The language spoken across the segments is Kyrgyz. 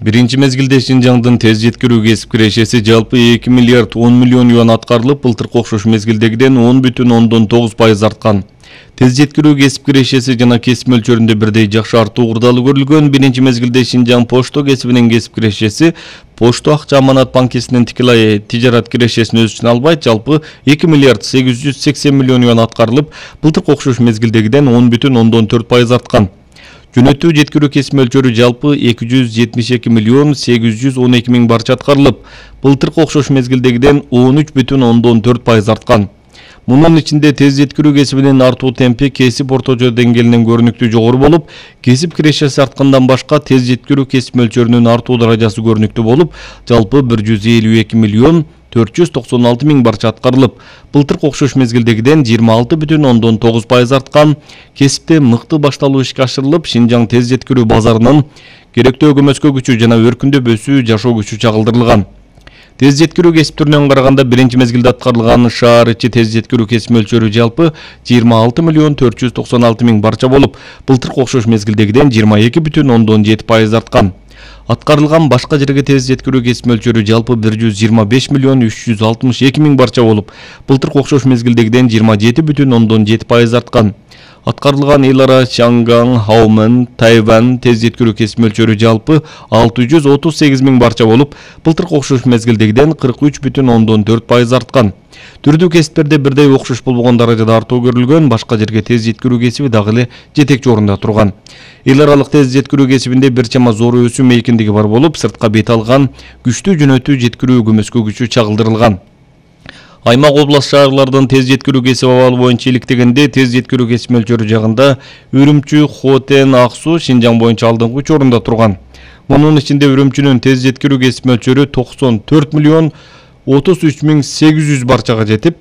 Биринчи мезгилде Шинжаңдын тез жеткирүү кесип кирешеси жалпы 2 миллиард 10 миллион юан аткарылып, былтыркы окшош мезгилдегиден 10,9% арткан. Тез жеткирүү кесип кирешеси жана кесип мөлчөрүндө бирдей жакшы артуу курдалуу көрүлгөн. Биринчи мезгилде Шинжаң пошто кесибинин кесип кирешеси Пошто акча аманат банкисинин тикелей тижарат кирешесин өз ичине албайт, жалпы 2 миллиард 880 миллион юан аткарылып, былтыркы окшош мезгилдегиден 10,4% арткан. Жөнөтүү жеткирүү кесип мөлчөрү жалпы 272 миллион 812 миң барча аткарылып, былтыркы окшош мезгилдегиден 13,4% арткан. Мунун ичинде тез жеткирүү кесибинин артуу темпи кесип орточо деңгээлинен көрүнүктүү жогору болуп, кесип кирешеси арткандан башка тез жеткирүү кесип мөлчөрүнүн артуу даражасы көрүнүктүү болуп, жалпы 152 миллион 496 миң барча аткарылып, былтыркы окшош мезгилдегиден 26,9% арткан. Кесипте мыкты башталуу ишке ашырылып, Шинжаң тез жеткирүү базарынын керектүү көмөскө күчү жана өркүндөп өсүү жашоо күчү чагылдырылган. Тез жеткирүү кесип түрүнөн караганда биринчи мезгилде аткарылган шаар ичи тез жеткирүү кесип мөлчөрү жалпы 26 миллион 496 миң барча болуп, былтыркы окшош мезгилдегиден 22,7% арткан. Аткарылган башка жерге тез жеткирүү кесип мөлчөрү жалпы 125 миллион 362 миң барча болуп, былтыркы окшош мезгилдегиден 27,7% арткан. Аткарылган эл ара Чанган, Хаомен, Тайвань тез жеткирүү кесип мөлчөрү жалпы 638 миң барча болуп, былтыркы окшош мезгилдегиден 43,4% арткан. Түрдүү кесиптерде бирдей окшош болбогон даражада артуу көрүлгөн, башка жерге тез жеткирүү кесиби дагы эле жетекчи орунда турган. Эл аралык тез жеткирүү кесибинде бир чама зор өсүү мейкиндиги бар болуп, сыртка бет алган күчтүү жөнөтүү жеткирүү көмөскө күчү чагылдырылган. Аймак область шаарлардын тез жеткирүү кесип абалы боюнча иликтегенде тез жеткирүү кесип мөлчөрү жагында Үрүмчү, Хотен, Ак Суу Шинжаң боюнча алдыңкы 3 орунда турган. Мунун ичинде Үрүмчүнүн тез жеткирүү кесип мөлчөрү 94 миллион 33 миң 800 барчага жетип,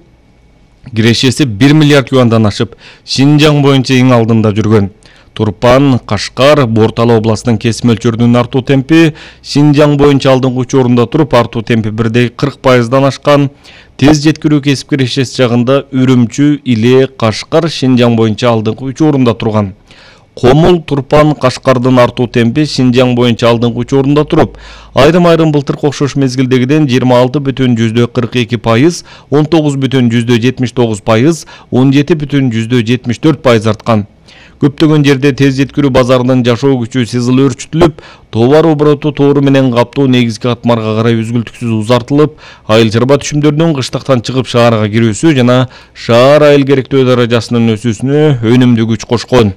кирешеси 1 миллиард юандан ашып, Шинжаң боюнча эң алдында жүргөн. Турпан, Кашкар, Бортала областынын кесип мөлчөрүнүн артуу темпи Шинжаң боюнча алдыңкы 3 орунда туруп, артуу темпи бирдей 40%дан ашкан. Тез жеткирүү кесип кирешеси жагында Үрүмчү, Иле, Кашкар Шинжаң боюнча алдыңкы 3 орунда турган. Комул, Турпан, Кашкардын артуу темпи Шинжаң боюнча алдыңкы 3 орунда туруп, айрым былтыркы окшош мезгилдегиден 26,42%, 19,79%, 17,74% арткан. Көптөгөн жерде тез жеткирүү базарынын жашоо күчү сызыл өөрчүтүлүп, товар обороту тоору менен каптоо негизги катмарга карай үзгүлтүксүз узартылып, айыл чарба түшүмдөрүнүн кыштактан чыгып шаарга кирүүсү жана шаар айыл керектөө даражасынын өсүүсүнө өнүмдүү күч кошкон.